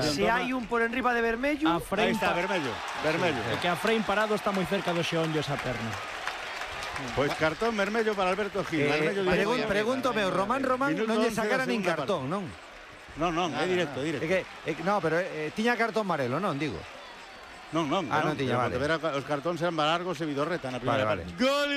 Se hai un por enriba de vermello. Aí está, vermello. É que a Frein parado está moi cerca do xeonllo esa perna. Pois cartón vermello para Alberto Gil. Pregúntome, Román non lle sacara nin cartón, non? Non, é directo. No, pero tiña cartón amarelo, non, digo. Non, tiña, vale. Os cartóns eran Balargos e Vidorreta na primeira parte. Gol.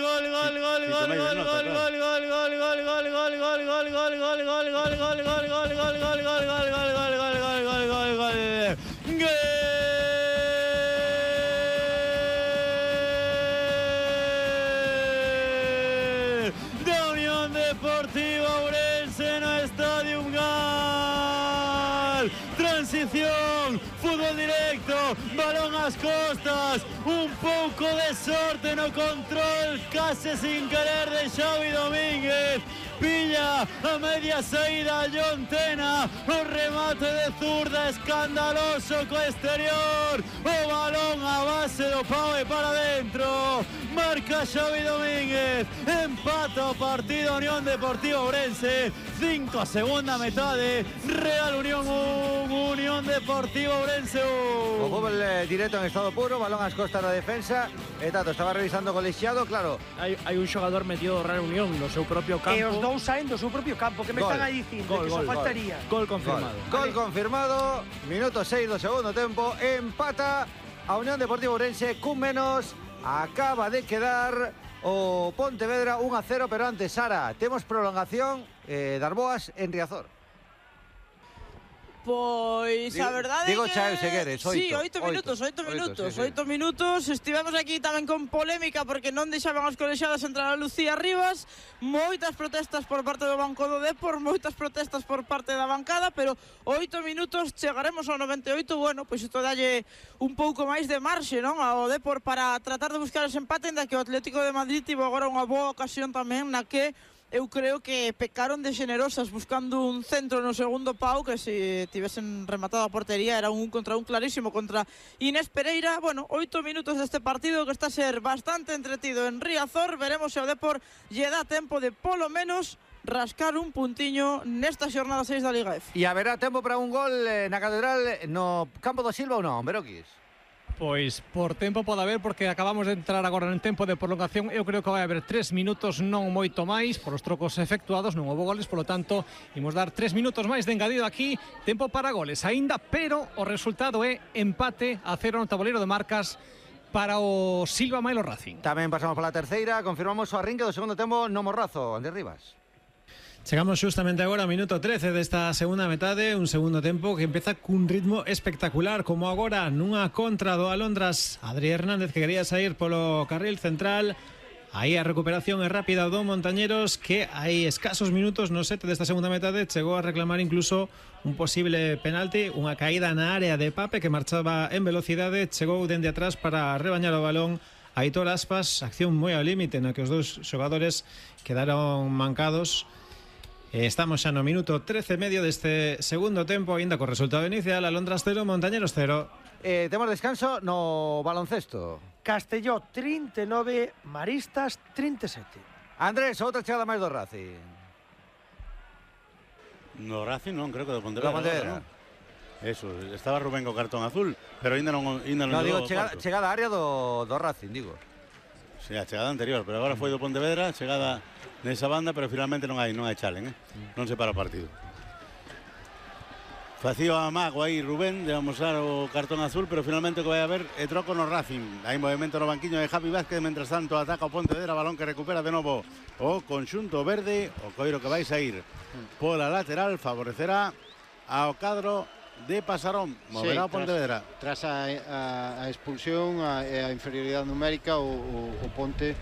Da Unión Deportiva Ourense no Estadio Gal. Transición, fútbol directo, balón ás costas, un pouco de sorte no control, case sin querer de Xavi Domínguez. Pilla a media saída John Tena, o remate de zurda escandaloso co exterior, o balón a base do pau e para dentro. Marca Xavi Domínguez, empata o partido Unión Deportiva Ourense, 5 a segunda metade, Real Unión 1, Unión Deportiva Ourense 1. O fútbol directo en estado puro, balón ás costas da defensa. Tato estaba revisando o colexiado, claro. Hai un xogador metido do Real Unión no seu propio campo. E os dous saen do seu propio campo, que me están aí dicindo, que só faltaría. Gol confirmado. Gol confirmado, minuto 6 do segundo tempo, empata a Unión Deportiva Ourense cun menos. Acaba de quedar o Pontevedra 1-0, pero antes, Sara, temos prolongación das Boas en Riazor. Pois a verdade digo é que... Chao Segueres, 8. Sí, 8 minutos. 8 minutos. Estivemos aquí tamén con polémica porque non deixaban os colexiados entrar a Lucía Rivas. Moitas protestas por parte do banco do Depor, moitas protestas por parte da bancada, pero 8 minutos, chegaremos ao 98. Bueno, pois isto dalle un pouco máis de marxe, non? Ao Depor para tratar de buscar ese empate, en da que o Atlético de Madrid tivo agora unha boa ocasión tamén na que eu creo que pecaron de generosas buscando un centro no segundo pau, que se tivesen rematado a portería era un contra un clarísimo contra Inés Pereira. Bueno, 8 minutos deste partido que está a ser bastante entretido en Riazor. Veremos se o Depor lle dá tempo de polo menos rascar un puntiño nesta xornada 6 da Liga F. E haberá tempo para un gol na Catedral no campo do Silva ou non, Beroquis? Pois por tempo pode haber, porque acabamos de entrar agora en tempo de prolongación. Eu creo que vai haber 3 minutos, non moito máis, por os trocos efectuados, non houve goles, polo tanto, imos dar 3 minutos máis de engadido aquí, tempo para goles aínda, pero o resultado é empate a 0 no tabuleiro de marcas para o Silva Mailo Racing. Tamén pasamos para a terceira, confirmamos o arrinque do segundo tempo no Morrazo, Andrés Rivas. Chegamos justamente agora ao minuto 13 desta segunda metade, un segundo tempo que empeza cun ritmo espectacular, como agora nunha contra do Alondras. Adri Hernández, que quería sair polo carril central. Aí a recuperación é rápida do Montañeros, que hai escasos minutos no 7 desta segunda metade chegou a reclamar incluso un posible penalti, unha caída na área de Pape, que marchaba en velocidade, chegou dende atrás para rebañar o balón Aitor Aspas. Acción moi ao límite na que os dous xogadores quedaron mancados. Estamos xa no minuto 13 e medio deste segundo tempo, ainda co resultado inicial, Alondras 0, Montañeros 0. Temos descanso no baloncesto. Castelló 39, Maristas 37. Andrés, outra chegada máis do Racing. No Racing non, creo que do Pontevedra. Eso, estaba Rubén co cartón azul, pero ainda non digo, chegada á área do Racing, digo. Sí, a chegada anterior, pero agora foi do Pontevedra, chegada nesa banda, pero finalmente non hai challenge, non se para o partido. Facía o amago aí Rubén de amosar o cartón azul, pero finalmente o que vai haber é troco no Racing. Hai movimento no banquiño de Javi Vázquez, mentras tanto ataca o Pontevedra, balón que recupera de novo o conxunto verde, o coiro que vai sair pola lateral favorecerá ao cadro de Pasarón. Moverá o Pontevedra. Tras a expulsión e a inferioridade numérica, o Ponte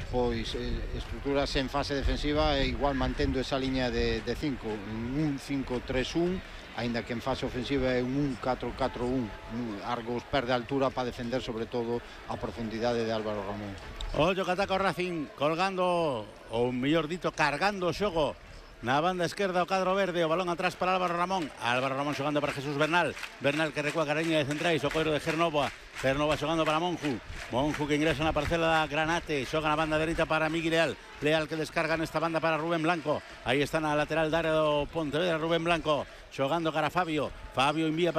pois estruturase en fase defensiva e igual mantendo esa liña de 5, un 5-3-1, aínda que en fase ofensiva é un 4-4-1. Argos perde altura para defender sobre todo a profundidade de Álvaro Ramón. Ollo que ataca o Racing, colgando, ou mellor dito, cargando o xogo Na banda esquerda o cadro verde, o balón atrás para Álvaro Ramón. Álvaro Ramón xogando para Jesús Bernal. Bernal que recua cariña de centrais, o coiro de Gernova. Gernova xogando para Monju. Monju que ingresa na parcela da Granate. Xoga na banda dereita para Miguel Leal. Leal que descarga nesta banda para Rubén Blanco. Aí está na lateral da área do Pontevedra Rubén Blanco. Xogando cara a Fabio. Fabio envía para